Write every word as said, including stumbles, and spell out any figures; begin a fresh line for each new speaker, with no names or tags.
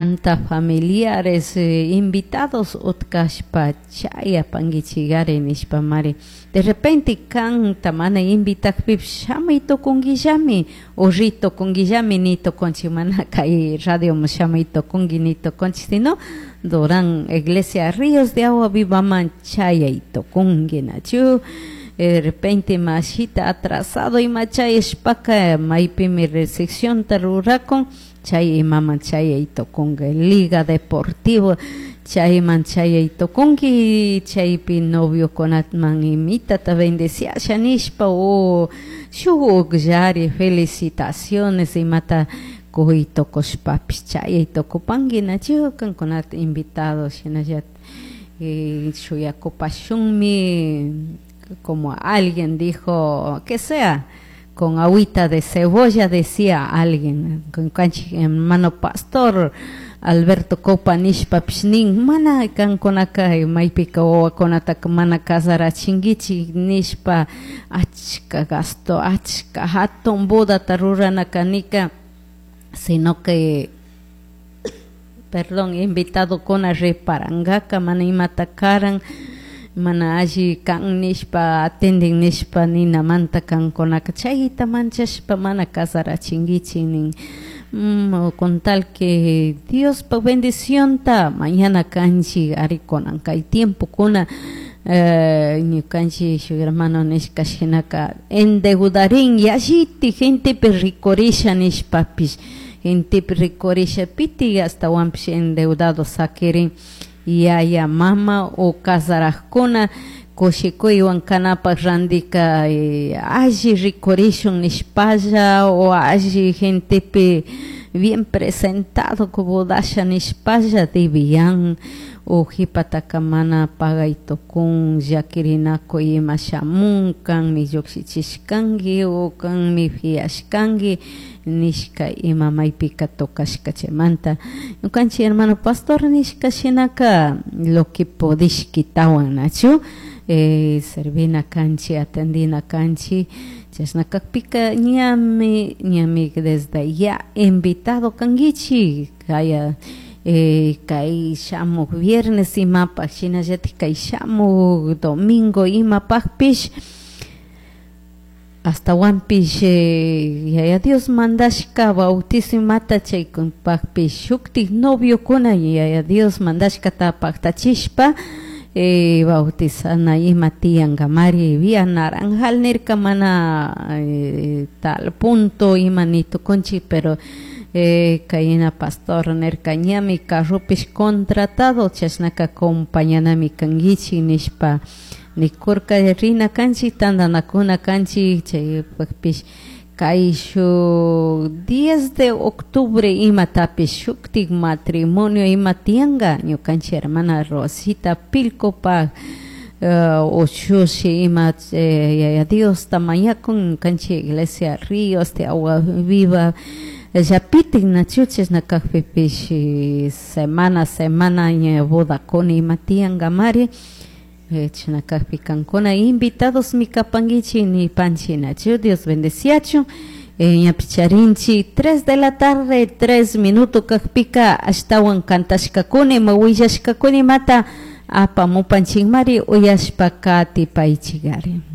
Anta familiares eh, invitados utkashpa chayapankichikari nishpamari de repente kanta mana invitakpipish shamuy tukunkillami o ri tukunkillami ni tukunchik mana kay radioman shamuy tukunki ni tukunchik sino Durán Iglesia Ríos de Agua Vivaman chayay tukunki nachu de repente mashita atrasado ima chayashpaka maypimi recepcionta rurakun chay imaman chayay tukunki Liga Deportivo chayman chayay tukunki chaypi noviokunatman imitata bendeciasha nishpa o shuk ukllari felicitaciones imata kuy tukushpapish chayay tukupanki nachu kankunata invitados shinallatik eh, shuyakupashunmi como alguien dijo que sea con agüita de cebolla decía alguien con kanchik hermano pastor Alberto Copa nishpapish nin mana kankunaka maypika wawakunataka mana casarachinkichik nishpa achka gasto achka hatun bodata rurana kanika sino que perdón invitadokuna reparankaka mana imata karan mana alli kan nishpa atendin nishpa ninamanta kankunaka chayta manchashpa mana casarachinkichik nin mm, con tal que Diospa bendicionta mañana kanchik ari kunan kay tiempokuna eh, ñukanchik shuk hermano nishka shinaka endeudarin yallitik gentepi rikurisha nishpapish gentepi rikurisha pitik ashtawanpish endeudado sakirin yaya mama o casarakuna kushikuywan kanapak randika eh, alli rikurishun nishpalla o alli gentepi bien presentado bodasha nishpalla debian o jipataka mana pagay tukun llakirinakuy ima shamun kanmi llukshichishkanki o kanmi fiashkanki nishka ima maypika tocashka chaymanta ñukanchik hermano pastor nishka shinaka lo que podishkitawan nachu eh, servina kanchik atendina kanchik chashna kakpika ñami ñami desde ya invitado kankichik kaya eh, kay shamuk viernes imapak shinallatik kay shamuk domingo imapakpish ashtawanpish eh, yaya Dios mandashka bautizo imata chaykunpakpish shuktik noviokuna yaya Dios mandashkata paktachishpa eh, bautizana ima tiyankamari vía naranjal nirka mana eh, tal punto ima ni tukunchik pero eh, kayna pastor nirka ñami carropish contratado chashnaka acompañanami kankichik nishpa nikurka rina kanchik tantanakuna kanchik chaypakpish kay shuk diez de octubre imatapish shuktik matrimonio ima tiyanka ñukanchik hermana Rosita Pilcopak uh, ushushi ima eh, yaya Diosta mañakun ñukanchik iglesia Ríos de Agua Viva llapitik nachu chashna kakpipish semana semana ña bodakuna ima tiyankamari chashna kakpi kankuna invitados mi kapankichik nipanchik nachu Dios bendeciachun ñapish charinchik tres de la tarde tres minuto kakpika ashtawan kantashkakuna ima willashkakuna imata apamupanchikmari uyashpa katipaychikari.